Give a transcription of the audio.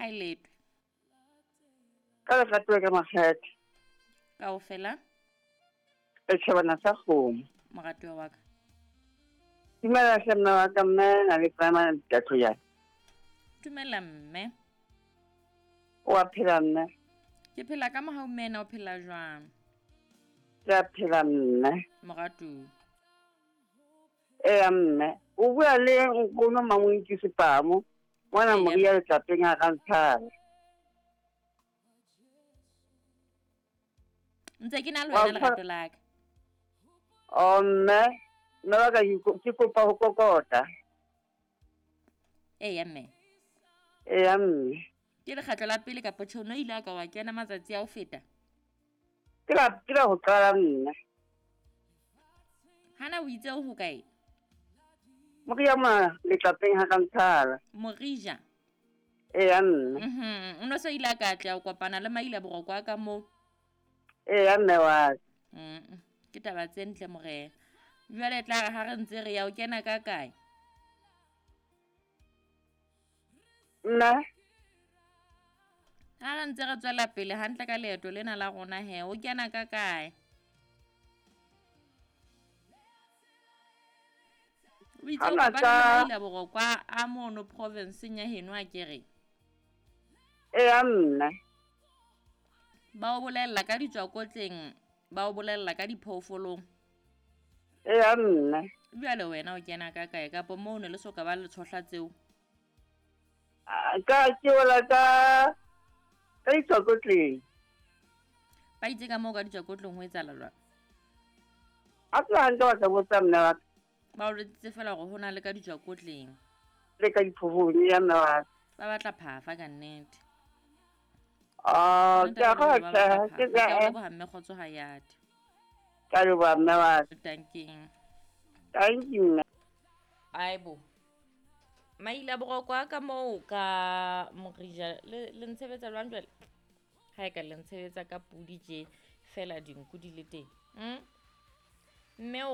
Ha e letwe. Ka legatwe ka makgethe. Kaofela. Setšhabana sa kgomo. Moratuwa wa ka. Dumela hle mme wa ka mme na le prima Tlatloyane. Dumela mme. O a phela mme? Ke phela ka mohau mme ena o phela jwang? Ke a phela mme. Moratuwa. Eya mme. O bua le nkgono Mamoinkisi Sepamo mona Moria letlapeng ha Rantshaba. Ntse ke na le wena lerato la ka. Oh mme, mme wa ka ke kopa ho kokota. Eya mme. Eya mme. Ke lekgetlo la pele kapa tjhe o no ile a ka wa kena matsatsi a ho feta? Ke la ke la ho qala mme. Hana o itse o ho kae? Moria ma letlapeng ha Rantshaba. Morija. Eya mme. Mhm. O no se ile a ka tla o kopana le Maila Boroko a ka moo. Eya mme wa ka. Mm. Ke taba tse ntle morena. Jwale tla re ha re ntse re ya o kena ka kae? Nna Ha re ntse re tswela pele hantle ka leeto lena la rona he, o kena ka kae? O itse o kopane le Maila Boroko a mono provinseng ya heno a kere? Eya mme. Ba o bolella ka ditswakotleng, ba o bolella ka diphoofolong. Eya mme. Jwale wena o kena ka kae kapo moo ne le soka ba le tshohla tseo? Ka ke wela ka ka ditswakotleng. Ba itse ka moo ka ditswakotleng ho etsahala jwang? A tla hantle wa ka botsa mme wa ka. Ba o jwetsitse feela hore ho na le ka ditswakotleng. Le ka diphofong ya mme wa ka. Ba batla phafa ka nnete. Oh, ke a go tjhe, ke Ke a leboha mme Kgotso Hayati. Ka leboha mme wa ka. Tanking. Thank you mme. Aibo. Maila boroko a ka moo ka Morija le le ntshebetsa jwang jwale? Ha e ka le ntshebetsa ka pudi tje fela dinku di le teng. Mme o re